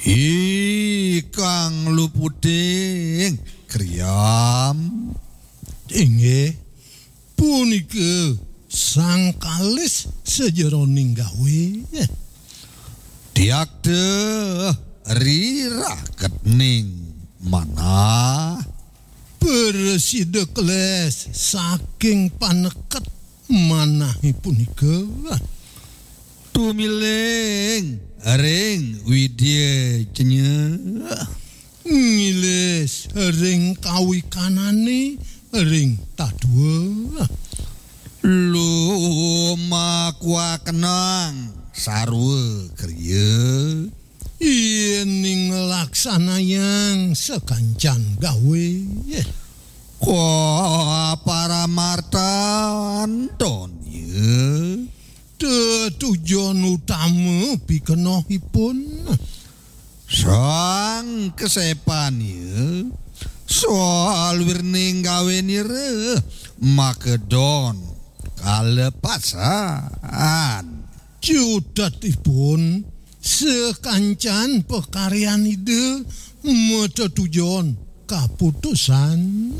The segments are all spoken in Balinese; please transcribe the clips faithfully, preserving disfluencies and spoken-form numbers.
Ikang luputing kriam. Inggih, punika sang kalis sajeroning gawé. Tiakta riraketning manah. Prasida keles saking paneket manahé punika. Tumiling ring widya jenya. Ngilis ring kawikanané ring tadua. Lumakuakenang sarwa kriya. Yéning nglaksanayang sakancan gawé. Kaparamartan donya. Tetujon utama pikenohipun. Sang kasepan ya. Salwirning gawénira makedon kalepasan. Cutetipun sakancan pakaryan Ida matetujon kaputusan.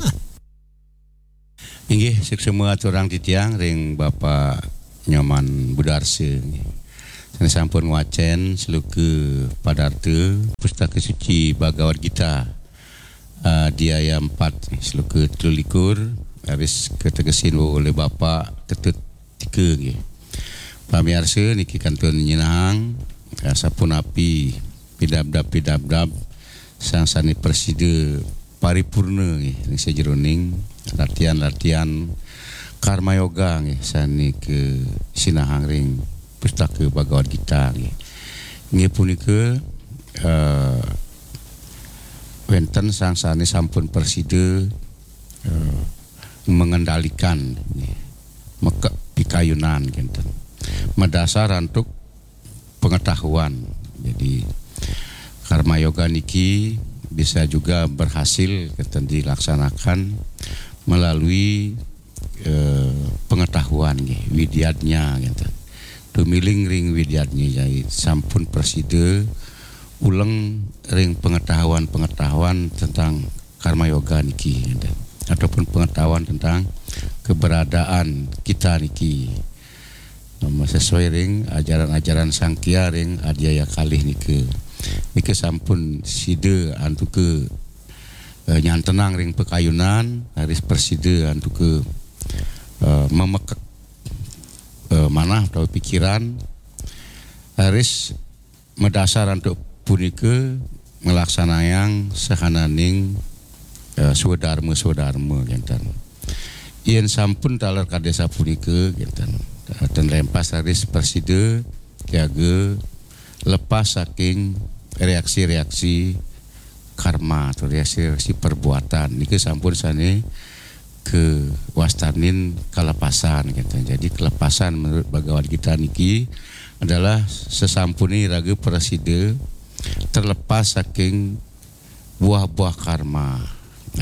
Inggih, suksma aturang titiang ring Bapak Nyoman Budarsa, nggih. Sané sampun ngwacén sloka padarta Pustaka Suci Bhagavad Gita, adhyaya empat, sloka telu likur, raris kategesin olih Bapak Ketut Tika, nggih. Pamiarsa niki kantun nyinahang, eh, sapunapi pidabdab-pidabdab sang sané prasida paripurna, nggih, ring sajeroning ratian-ratian karma yoga, nggih, sané kasinahang ring Pustaka Bhagavad Gita, nggih. Inggih punika, eh, wénten sang sané sampun prasida, eh, mengendalikan, nggih, mekek pikayunan, kinten. Madasar antuk pengetahuan. Jadi, karma yoga niki bisa juga berhasil, kinten, dilaksanakan melalui, eh, pengetahuan, nggih, widyadnya, kinten. Tumiling ring widyadnya, jadi sampun prasida uleng ring pengetahuan-pengetahuan tentang karma yoga niki, kinten, ataupun pengetahuan tentang keberadaan kita niki. Sesuai ring ajaran-ajaran Sangkya ring adhyaya kalih nika. Nika sampun sida antuka, eh, nyantenang ring pikayunan, raris prasida antuka, eh, mamekek, eh, manah utawi pikiran, raris madasar antuk punika nglaksanayang sahananing, eh, swadarma-swadarma, kinten. Yén sampun taler kadi sapunika, kinten, eh, ten lempas raris prasida jaga lepas saking reaksi-reaksi karma atau reaksi-reaksi perbuatan. Nika sampun sané kawastanin kalepasan, kinten. Jadi, kelepasan menurut Bhagavad Gita niki adalah sesampune raga prasida terlepas saking buah-buah karma,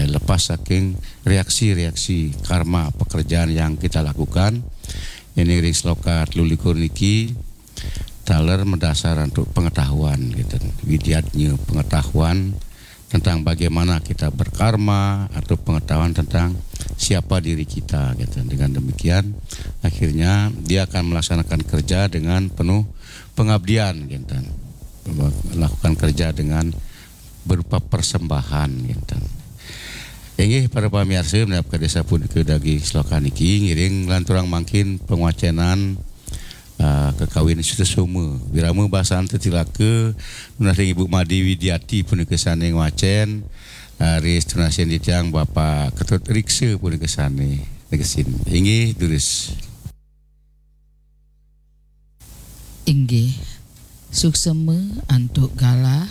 eh, lepas saking reaksi-reaksi karma pekerjaan yang kita lakukan. Ini ring sloka telu likur niki taler madasar antuk pengetahuan, kinten. Widyadnya, pengetahuan tentang bagaimana kita berkarma atau pengetahuan tentang siapa diri kita, kinten. Dengan demikian, akhirnya dia akan melaksanakan kerja dengan penuh pengabdian, kinten. Melakukan kerja dengan berupa persembahan, kinten. Inggih, para pamiarsa, minab kadi sapunika daging sloka niki, ngiring lanturang mangkin pangwacenan, ah, kakawin Sutasoma. Wirama basan tetilaka, nunas ring Ibu Made Widiati punika sané ngwacén, ah, ri tunasin titiang Bapak Ketut Riksa punika sané negesin. Inggih, durus. Inggih, suksema antuk galah